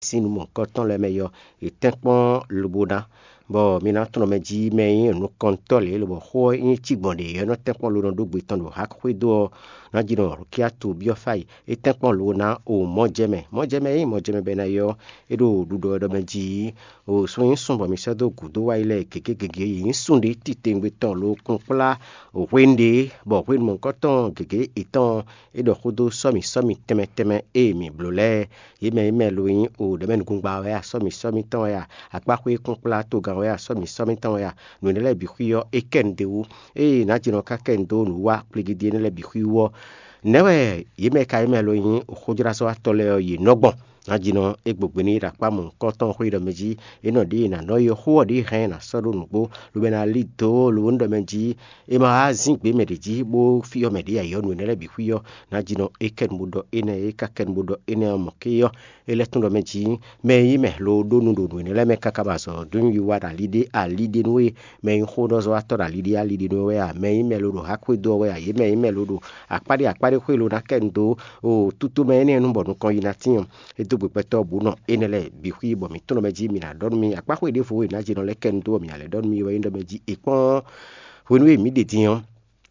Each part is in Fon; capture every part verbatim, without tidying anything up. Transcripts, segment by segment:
sín nǔ mɔ̌hunkɔtɔn lɛ́ɛ mɛ ɔ́, è tɛ́nkpɔ́n lobo ná, bɔ mi ná tunwun mɛ jí mɛ e nyí nukɔntɔ́ lě lobɔ xó ɔ́ nyí cí gbɔn ɖě ɔ́ nɔ tɛ́nkpɔ́n lo nɔ ɖó gbe tɔn ɖo Hakxwédó ɔ́ ná jí nɔ Rukiyatu byɔ́ fá yi. É tɛ́nkpɔ́n lo ná o mɔ̌ jɛ mɛ. Mɔ̌ jɛ mɛ e nyí mɔ̌ jɛ mɛ bɔ è nɔ ylɔ́ é ɖo ɖuɖɔ ɔ́ ɖɔ mɛ jí o sun nyí sun bɔ mi sɔ́ dó gǔdo wá yi lɛ́ɛ gěgé gěgé yě nyí sun ɖé titewungbe tɔn lo kplɔ́nkplá hwenu ɖé bɔ hwenu mɔ̌hunkɔtɔn gěgé yětɔn é ɖɔ xó dó sɔ́ mì sɔ́ mì tɛnmɛ tɛnmɛ e mǐ bló lɛ́ɛ. Yě mɛ e mɛ lo nyí o ɖɛ̌mɛnugungba wɛ a, sɔ́ mì sɔ́ mì tɔn wɛ a, akpáxwé kplɔ́nkplá togán wɛ a, sɔ́ mì sɔ́ mì tɔn wɛ a, nǔ énɛ́ lɛ́ɛ bǐ xwí ɔ́, é kɛ nu ɖ'é wú. Ée nǎ jɛ nɔ ká kɛ nu dó nǔwiwa kplígídí énɛ́ lɛ́ɛ bǐ xwí wú ɔ́, nɛ̌ wɛ yě mɛ ka nyí mɛ lo nyí xójlázɔ́watɔ́ lɛ́ɛ ɔ́, yě nɔ gbɔn? Nǎjínɔ é gbogbe n'i ɖo akpá mɔ̌hunkɔtɔn xwé ɖɔ mɛ jí, é nɔ ɖě ná nɔ yi xó ɔ́ ɖě hɛn ná sɔ́ ɖó nǔgbó, lobo ná lí dǒ lobo nú ɖɔ mɛ jí, é ma wá zín gbě mɛ ɖě jí bó fyɔ́ mɛ ɖě ayǐ ɔ́, nǔ énɛ́ lɛ́ɛ bǐ xwí ɔ́, nǎjínɔ é kɛ nu bó ɖɔ énɛ́, é ka kɛ nu bó ɖɔ énɛ́ ɔ́ mɔ̌ ké ɔ́, é lɛ́ tún ɖɔ mɛ jí, mɛ e nyí mɛ lo ɖó nu ɖo nǔ énɛ́ lɛ́ɛ mɛ káká bɔ azɔ̌ dó nyi wiwa ɖo ali ɖé ali ɖé nú we, mɛ e nyí xóɖɔzɔ́watɔ́ ɖo ali ɖé ali ɖé nú we wɛ a, mɛ e nyí mɛ lo ɖo hákwédó ɔ́ wɛ a, yě mɛ e nyí mɛ lo ɖo akpáɖé akpáɖé xwé lo ná kɛ nu dó o tutu mɛ énɛ́ nu bɔ nukɔn yi ná tín ɔ́, é dó gbe gbɛtɔ́ bǔ nɔ énɛ́ lɛ́ɛ bǐ xwí bɔ mǐ tunɔ mɛ jí mǐ ná ɖɔ nú mì akpá xwé ɖěvo e nǎ jɛ nɔ lɛ́ kɛ nu dó bɔ mǐ ná lɛ́ ɖɔ nú mì wɛ nyí ɖɔ mɛ jí è kpɔ́n hwenu e mǐ ɖe din ɔ́,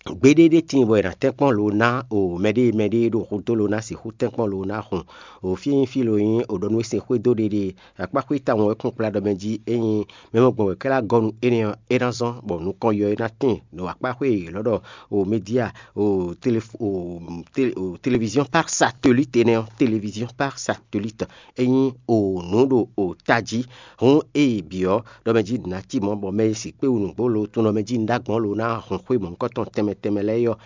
gbeɖé ɖé tíin bɔ è nǎ tɛ́nkpɔ́n lo ná o mɛɖée mɛɖée ɖo xudó lo ná sixú tɛ́nkpɔ́n lo ná hun o fí e nyí fí lo nyí o ɖɔ nú é sin xwedó ɖéɖé akpá xwé tawun wɛ kún kplá ɖɔ mɛ jí é nyí mɛ mɔ gbɔn wɛ kɛ́ lá gɔ́ nú énɛ́ ɔ́, é ná zɔ́n bɔ nukɔn yɔ é ná tíin ɖo akpá xwé e è lɔ̌ ɖɔ o média o tele o tele- o télévision par satellite énɛ́ ɔ́, télévision par satellite é nyí o nǔ ɖo o tají. Hǔn ée bǐ ɔ́, ɖɔ mɛ jí nǎ cí mɔ̌ bɔ mɛ e sixú kpé wú nǔgbó lo tunɔ mɛ jí un ɖó agbɔ̌n lo ná hun xwé mɔ̌hunkɔtɔn tɛnmɛ tɛnmɛ lɛ́ɛ é ɔ́,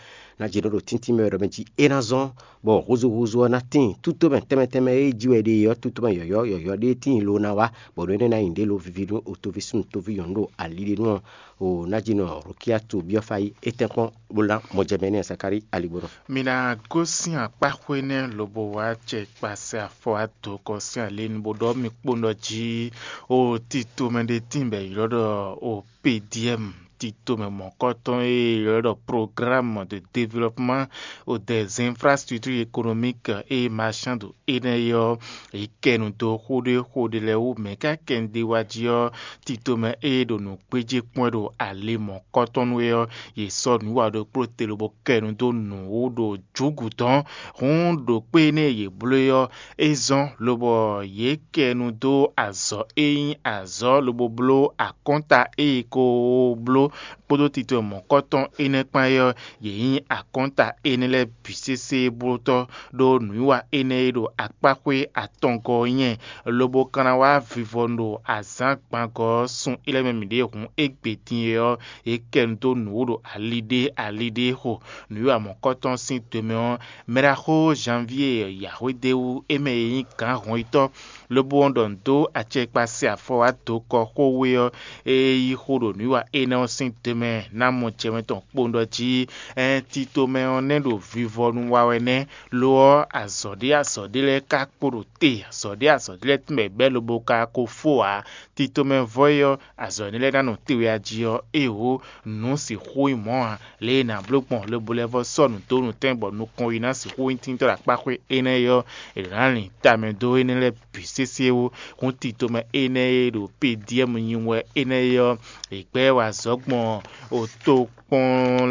ná jɛ ɖɔ ɖo tíntín mɛ wɛ ɖɔ mɛ jí é ná zɔ́n, bɔ húzúhúzú ɔ́ ná tíin tútomɛ tɛnmɛ tɛnmɛ e jí wɛ ɖe é ɔ́, tútomɛ yɔ̌yɔ́ yɔ̌yɔ́ ɖé tíin lo ná wá, bɔ nǔ énɛ́ ná nyi ɖě lo viví nú o toví súnnu toví nyɔ̌nu ɖo ali ɖé nu ɔ́, o ná jí nɔ Rukiyatu byɔ́ fá yi é tɛ́nkpɔ́n bó ná mɔ jɛ mɛ nɛ́ Sakáli alígbɔ́nɔ. Mi ná gosín akpáxwé nɛ́ lobo wá acɛ kpasɛ afɔ wá dǒ kɔ sín alě nu bó ɖɔ mì kpónɔ jí o tito mɛ ɖé tíin bɔ è ylɔ́ ɖɔ o P D M, tito mɛ mɔ̌kɔtɔn e è ylɔ́ ɖɔ Programme de Développement o des Infrastructures Économiques et Marchandes énɛ́ é ɔ́, è kɛ nu dó xó ɖé xó ɖé lɛ́ɛ wú. Mɛ̌ ka kɛ nu ɖé wá jí ɔ́, tito mɛ e ɖo nǔ gbéjé kpɔ́n wɛ ɖo alě mɔ̌kɔtɔn nu é ɔ́, yě sɔ́ nǔ wa ɖokpó te lobo kɛ nu dó nǔ wú ɖo jǔgǔ tɔn. Hǔn ɖo kpé énɛ́ e yě bló é ɔ́, é zɔ́n lobɔ yě kɛ nu dó azɔ̌ e nyí azɔ̌ lobo bló akɔ́nta e è ko bló kpódó tito mɔ̌kɔtɔn énɛ́ kpán é ɔ́, yě nyí akɔ́nta énɛ́ lɛ́ɛ bǐ sésé blótɔ́ ɖó nǔwiwa énɛ́ e ɖo akpáxwé atɔngɔ́ ɔ́ nyɛ, lobo ka ná wá vivɔnu ɖo azǎn gbangɔ ɔ́ sun é lɛ́ɛ mɛ mǐ ɖe hǔn égbé din é ɔ́, é kɛ nu dó nǔ wú ɖo ali ɖé ali ɖé xo. Nǔwiwa mɔ̌kɔtɔn sín do mɛ ɔ́, mɛɖaxó Janvier yǎxwédéwú é mɛ e nyí gǎn hɔnyitɔ́ lobo wɔn ɖɔ nǔ dó acɛkpa se afɔ wá dó kɔ xó we ɔ́, é yí xó ɖo nǔwiwa énɛ́ ɔ́ sín do mɛ ná mɔ jɛmɛ tɔn kpowun ɖɔ jí ɛɛn tito mɛ ɔ́ nɛ́ ɖo vivɔnu wa wɛ nɛ́. Lo ɔ́, azɔ̌ ɖé azɔ̌ ɖé lɛ́ɛ ka kpo ɖo te, azɔ̌ ɖé azɔ̌ ɖé lɛ́ɛ tún bɔ è bɛ́ lobo ka ko fó ǎ. Tito mɛ vɔ́ é ɔ́, azɔ̌ énɛ́ lɛ́ɛ ná nɔ te wɛ a jí ɔ́, éeǒ, nǔ sixú nyí mɔ̌ ǎ. Lě e è nǎ bló gbɔn lobo lɛ́ vɔ́ sɔ́ nǔ dó nǔtɛn bɔ nukɔn yi ná sixú nyí tíntɔ́ ɖo akpáxwé énɛ́ é ɔ́, è nǎ lin tamɛ dó énɛ́ lɛ́ɛ bǐ sésé wú. Hǔn tito mɛ énɛ́ e ɖo P D M nyi wɛ énɛ́ é ɔ́, è gbɛ́ wɛ azɔ̌ gbɔn o tokpɔn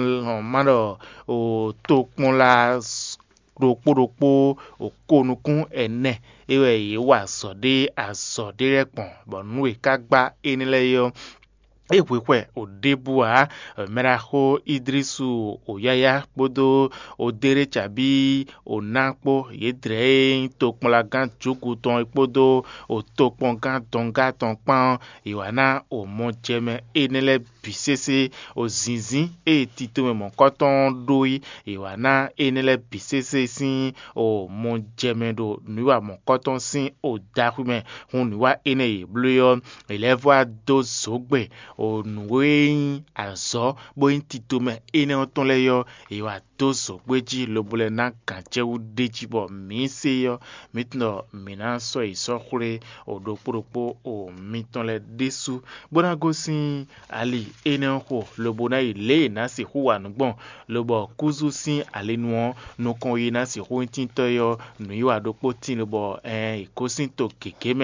ma ɖɔ o tokpɔnla ɖokpó ɖokpó o ko nukún ɛnɛ é wɛ yě wa azɔ̌ ɖé azɔ̌ ɖé lɛ́ɛ gbɔn, bɔ nǔ e ka gbá énɛ́ lɛ́ɛ é ɔ́, é hwe xwɛ o ɖěbǔ ǎ. Mɛɖaxó Idrisu o yáyá kpódó o Déré cabí o ná kpó yě dlɛ̌ e nyí tokpɔnlagán Juku tɔn é kpódó o tokpɔngán dɔngá tɔn kpán ɔ́, è wǎ ná o mɔjɛmɛ énɛ́ lɛ́ɛ bǐ sésé o zǐnzín e tito mɛ mɔ̌kɔtɔn ɔ́ ɖó é, è wǎ ná énɛ́ lɛ́ɛ bǐ sésé sín o mɔjɛmɛ ɖo nǔwiwa mɔ̌kɔtɔn sín o daxwi mɛ. Hun nǔwiwa énɛ́ e yě bló é ɔ́, è lɛ́ vɔ́ wá dó zǒgbɛ́ o nǔ e nyí azɔ̌ bó nyí tito mɛ énɛ́ ɔ́ tɔn lɛ́ɛ é ɔ́, è wǎ dó zǒgbé jí lobo lɛ́ ná gǎn jɛ wú ɖ'é jí bɔ mǐ se ɔ́, mǐ tunwun ɖɔ mǐ ná sɔ́ yi sɔ́ xwlé o ɖokpó ɖokpó o mitɔn lɛ́ɛ ɖésú, bó ná gosín ali énɛ́ ɔ́ xo, lobo ná yi lě e è nǎ sixú wa nǔ gbɔn, lobɔ kúzú sín alinu ɔ́ nukɔn e ná sixú nyí tíntɔ́ é ɔ́, nǔwiwa ɖokpó tíin, lobɔ ɛɛn è gosín to gěgé mɛ.